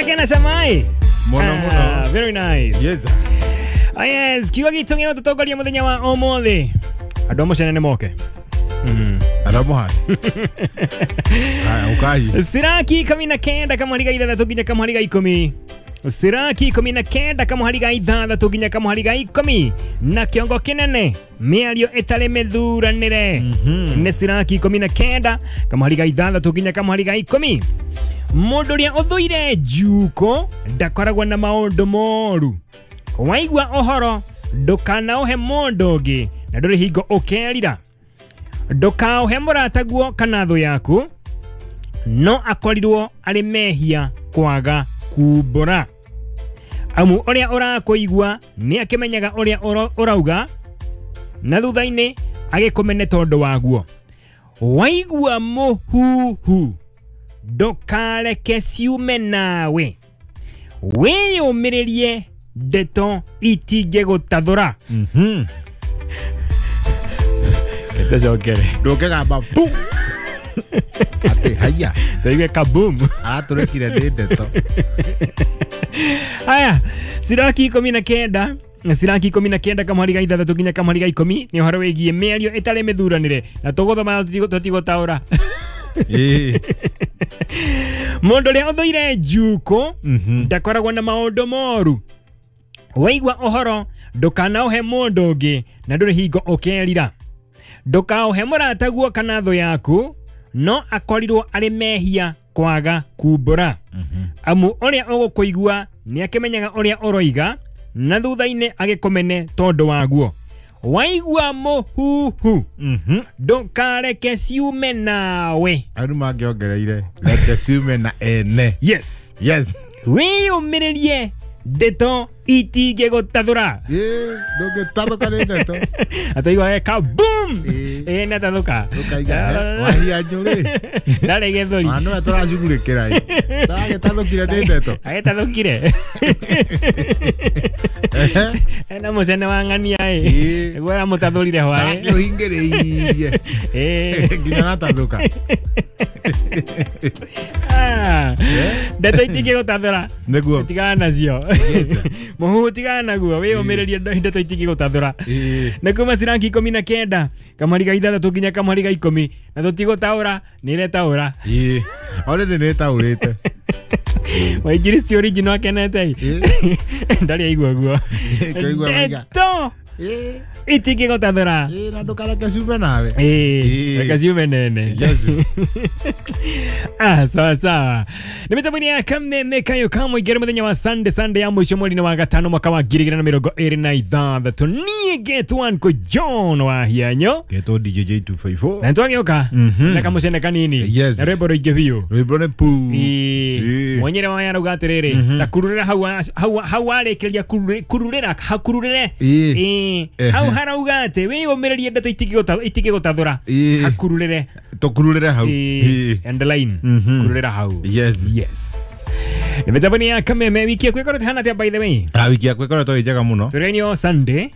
Ndakena camai Muno muno. Very nice. Yes. Ah, yes, kiugo gitũ gĩa gũtũtongoria mũthenya wa ũmũthĩ. Andũ a mũcene nĩ moke. Aramuha. Haya ukai. Siraki 19 kamũhari ga 6 nginya kamũhari ga 10. Siraki 19 kamũhari ga 6 nginya kamũhari ga 10 na kĩongo kĩnene mĩario ĩtarĩ mĩthuranĩre. Nĩ Siraki 19 kamũhari ga 6 nginya kamũhari ga 10. Mũndũ ũrĩa ũthũire njuko ndakoragwo na maũndũ moru. Waigua ũhoro ndũkanaũhe mũndũ ũngĩ na ndũrĩ hingo ũkerira. Ndũkaũhe mũrataguo kana thũ yaku no akorirwo arĩ mehia kwaga kumbũra. Amu ũrĩa ũrakũigua nĩ akĩmenyaga ũrĩa ũrauga na thutha-inĩ agĩkũmene tondũ waguo. Waigua mũhuhu ndũkareke ciume nawe, wĩyũmĩrĩrie ndeto itingĩgũtathũra. Ndacokere Ndũngĩgamba bu. Ati haya. Ndaigue kaboom. Aratũrekire nĩ ndeto. Haya, Siraki 19 Siraki 19 kamũhari ga 6 nginya kamũhari ga 10 nĩ ũhoro wĩgiĩ mĩario ĩtarĩ mĩthuranĩre na tũgũthoma tũtigũtaũra. Mũndũ ũrĩa ũthũire njuko ndakoragwo na maũndũ moru. Waigua ũhoro ndũkanaũhe mũndũ ũngĩ na ndũrĩ hingo ũkerira. Ndũkaũhe mũrataguo kana thũ yaku no akorirwo arĩ mehia kwaga kumbũra. Amu ũrĩa ũgũkũigua nĩ akĩmenyaga ũrĩa ũroiga na thutha-inĩ agĩkũmene tondũ waguo. Waigua mũhuhu ndũkareke ciume nawe. Andũ mangĩongereire reke ciume na ene. Yes. Yes. Wĩyũmĩrĩrie ndeto itingĩgũtathũra. Ndũngĩtathũka nĩ ndeto. Ataigua kaboom. Nĩ atathũka. Ũkaiga wahia njũrĩ. Ndarĩ gĩthũri. Ano tũracugurĩkĩra. Ndagĩtathũkire nĩ ndeto. Agĩtathũkire. Ena mũcene wa ng'ania ĩ. Nĩguo aramũtathũrire hwaĩ. Ndakĩũhingĩrĩirie. Nginya gatathũka. Ndeto itingĩgũtathũra. Nĩguo. Tigana nacio. Mũhuhu tigana naguo wĩyũmĩrĩrie ndeto itingĩgũtathũra. Nĩ kuma Siraki 19 kamũhari ga 6 nginya kamũhari ga 10 na tũtigũtaũra nĩ ĩretaũra. Already nĩ ĩtaũrĩte. Wainjiristi original akenete. Ndarĩ aigua guo. Ndeto itingĩgũtathũra. Na ndũkareke ciume nawe. Reke ciume nene. Yes. Ah, sawa sawa. Nĩ mĩtambo-inĩ ya Kameme Kayo Kamwe igere mũthenya wa Sunday, Sunday ya mũico mweri-inĩ wa gatano mwaka wa 2026. Niĩ getwo Uncle John wa Hianyo. Getwo DJ J254. Na nĩtwagĩũka na kamũcene kanini. Yes. Na rwĩmbo rũingĩ biũ. Rwĩmbo nĩ pu. Mwenyere wa arauga atĩrĩrĩ, ta kururĩra hau hau warĩkĩria kururĩra hakururĩre. Hau harauga atĩ wĩyũmĩrĩrie ndeto itingĩgũtathũra. Hakururĩre. Tũkururĩre hau. Underline. Kururĩra hau. Yes. Yes. Nĩ mĩtambo-inĩ ya Kameme wiki yaku ĩkoretwo ĩhana atĩa by the way? Wiki yakwa ĩkoretwo ĩ njega mũno. Tũrĩ Sunday.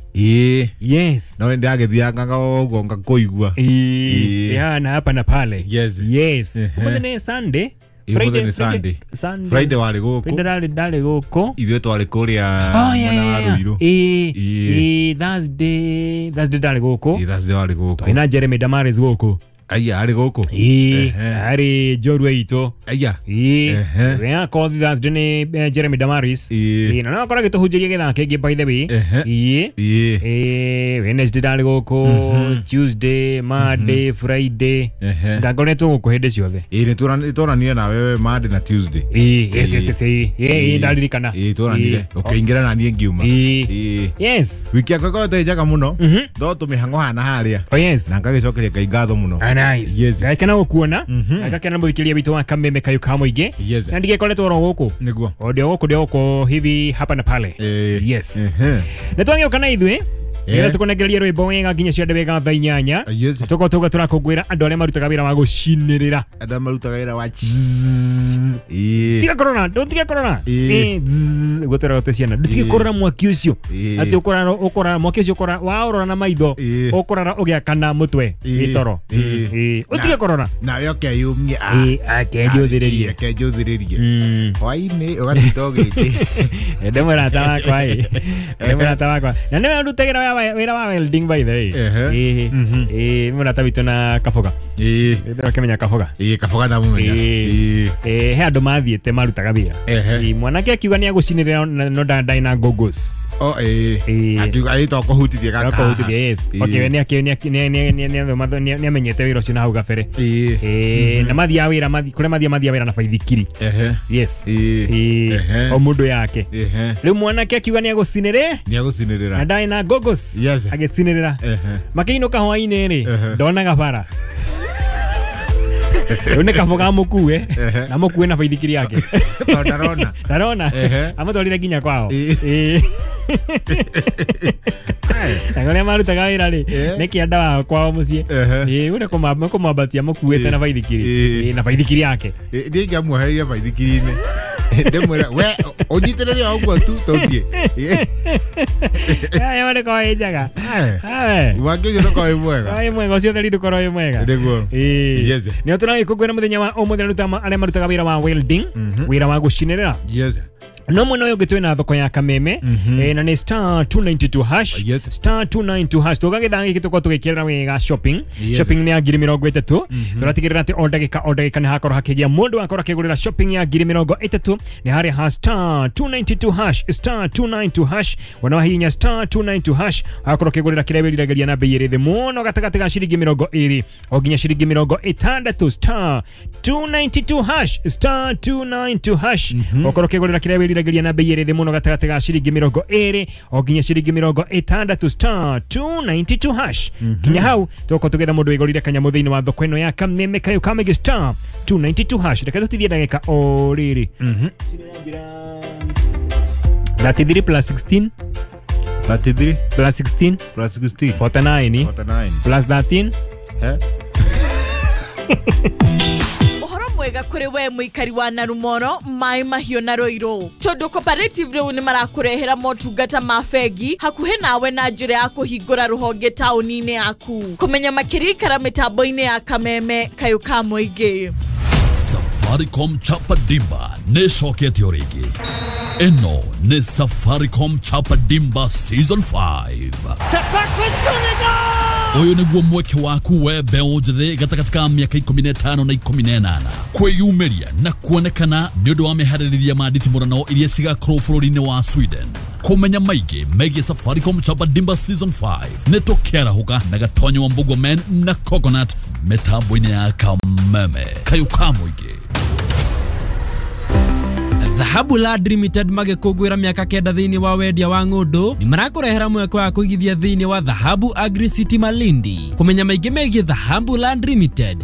Yes. No ndagĩthianga ũguo ngakũigua. Yana hapa na pale. Yes. Yes. Ũmũthĩ nĩ Sunday. Friday, Sunday. Friday warĩ gũkũ. Friday ndarĩ gũkũ. Ithuĩ twarĩ kũrĩa mwena wa Ruiru. Thursday ndarĩ gũkũ. Thursday warĩ gũkũ. Twĩ na Jeremy Damaris gũkũ. Aya arĩ gũkũ. Arĩ njorua itũ. Aya. Wea kothi Thursday nĩ Jeremy Damaris. Na no akorwo agĩtũhunjĩria gĩthaa kĩngĩ by the way. Wednesday ndarĩ gũkũ, Tuesday, Monday, Friday. Ngakoretwo gũkũ hĩndĩ ciothe. Nĩ tuonanire nawe Monday na Tuesday. Yes yes yes. Ndaririkana. Tuonanire. Ũkĩingĩra na niĩ ngiuma. Yes. Wiki yakwa ĩkoretwo ĩ njega mũno. No tũmĩhang'o hana harĩa. Oh yes. Na ngagĩcokeria Ngai ngatho mũno. Nice. Yes. Ngakena gũkuona. Ngakena mũthikĩrĩria witũ wa Kameme Kayo ka mũingĩ. Yes. Na ndigĩkoretwo oro gũkũ. Nĩguo. O ndio gũkũ hivi hapa na pale. Yes. Nĩ twagĩũka na ithuĩ. Nĩgetha tũkũnengereria rwĩmbo wega nginya ciande wega thaa 8. Yes. Tũkorwo tũga tũrakũngũĩra andũ arĩa marutaga wĩra wa gũcinĩrĩra. Andũ marutaga wĩra wa Ĩĩ. Tiga korona, ndũtige korona. Ĩĩ. Ĩĩ, guo twĩragwo twĩ ciana. Ndũtige Ĩĩ. kũrora mwaki ũcio. Ĩĩ. Atĩ ũkũrara ũkũrara mwaki ũcio ũkũrara waũrora na maitho Ĩĩ. ũkũrara ũgĩakana mũtwe Ĩĩ. gĩtoro. Ĩĩ. Ĩĩ. Ũtige kũrora. Nawe ũkeyumia. Ĩĩ, akenjũthĩrĩrie. Akenjũthĩrĩrie. Hwaĩ-inĩ ũgatinda ũgĩkĩ. Ndĩ mũrata wakwa ĩ. Ndĩ mũrata wakwa. Na nĩwe ũndutagĩra wĩra wa welding by the way. Ehe. Ĩĩ. Ĩĩ, mũrata witũ na Kaboga. Ĩĩ. Ndĩrakĩmenya Kaboga. Ĩĩ, Kaboga ndamũmenya. Ĩĩ. Ĩĩ. Ĩĩ, he andũ mathiĩte marutaga wĩra. Ehe. Ĩĩ, mwanake akiuga nĩ agũcinĩrĩra no ndarĩ na goggles. O ĩĩ. Ĩĩ. Akiuga ĩĩ to kũhutithia gaka. Kũhutithia, yes. Ĩĩ. Okay, we nĩ amenyete wĩra ũcio na hau gabere. Ĩĩ. Ĩĩ, na mathiaga wĩra kũrĩa mathiaga wĩra na baithikiri. Ehe. Yes. Ĩĩ. Ĩĩ, Ehe. o mũndũ yake. Ehe. Rĩu mwanake akiuga nĩ agũcinĩrĩ Nĩ agũcinĩrĩra. na ndarĩ na goggles. Yes. Agĩcinĩrĩra. Ehe. Makĩinũka hwaĩ-inĩ rĩ, Ehe. ndonaga bara. Rĩu nĩ Kaboga amũkue Ehe. na amũkue na baithikiri yake. Tondũ ndarona. Ndarona. Ehe. Amũtwarire nginya kwao. Ĩĩ. Ĩĩ. Na kũrĩa marutaga wĩra rĩ, Ĩĩ. nĩ kĩanda wao kwao mũciĩ. Ehe. Ĩĩ, ũyũ nĩ kũmwambatia amũkuĩte Ĩĩ. na baithikiri. Ĩĩ. Ĩĩ, na baithikiri yake. Ĩĩ, niĩ ingĩamuohereire baithikiri-inĩ. Ndĩmwĩre we ũnyitĩrĩre o ũguo tu tũthiĩ. Ĩĩ. Aya ndũkorwo wĩ njega. Ae. Ae. Mwaki ũcio ndũkorwo wĩ mwega. Wĩ mwega ũcio theri ndũkorwo wĩ mwega. Nĩguo. Ĩĩ. Yes. Nĩo tũragĩkũngũĩra mũthenya wa ũmũthĩ arĩa marutaga wĩra wa welding, wĩra wa gũcinĩrĩra. Yes. No mwena ũyũ ũngĩ twĩna thoko ya Kameme na nĩ star 292 hash. Yes. Star 292 hash tũgagĩthaa gĩkĩ tũkorwo tũgĩkĩrĩra wega shopping. Yes. Shopping nĩ ya 30,000. Tũratigĩrĩra atĩ o ndagĩka nĩ hakorwo hakĩgĩa mũndũ akorwo akĩgũrĩra shopping ya 30,000 nĩ harĩa ha star 292 hash, star 292 hash. Wona wahihinya star 292 hash akorwo akĩgũrĩra kĩrĩa wĩriragĩria na bei ĩrĩ thĩ mũno gatagatĩ ga ciringi 20 o nginya ciringi 60. Star 292 hash, star 292 hash. Ũkorwo ũkĩgũrĩra kĩrĩa wĩriragĩria na bei ĩrĩ thĩ mũno gatagatĩ ga ciringi 20 o nginya ciringi 60, star 292 hash. Nginya hau tũgũkorwo tũgĩetha mũndũ wĩgũrĩire kanyamũ thĩinĩ wa thoko ĩno ya Kameme kayũ ka Mĩngĩ, star 292 hash. Reke tũtithie ndagĩka o rĩrĩ. 33 plus 16 33 plus 16 plus 16 49 49. plus 13. Eh? Ũhoro mwega kũrĩ we mũikari wa Narumoro, Maĩ Mahiũ na Rũirũ, tondũ cooperative rĩu nĩ marakũrehera motungata ma bengi hakuhĩ nawe na njĩra ya kũhingũra rũhonge taũni-inĩ yaku. Kũmenya makĩria ikara mĩtambo-inĩ ya Kameme kayũ ka mũingĩ. Safaricom Chapa Dimba nĩ ĩcokete o rĩngĩ. Ĩno nĩ Safaricom Chapa Dimba Season 5. Ũyũ nĩguo mweke waku we mbeũ njĩthĩ gatagatĩ ka mĩaka 15 na 18 kwĩyumĩria na kuonekana nĩ ũndũ wa meharĩrĩria ma nditimũrano iria cigakorwo bũrũri-inĩ wa Sweden. Kũmenya maingĩ megiĩ Safaricom Chapa Dimba Season 5 nĩ tũkĩarahũka na Gatonyo wa Mbugua Men na Coconut mĩtambo-inĩ ya Kameme kayũ ka mũingĩ. Dhahabu Land Limited magĩkũngũĩra mĩaka 9 thĩinĩ wa wendia wa ng'ũndũ nĩ marakũrehera mweke wa kũigithia thĩinĩ wa Dhahabu Agri City Malindi. Kũmenya maingĩ megiĩ Dhahabu Land Limited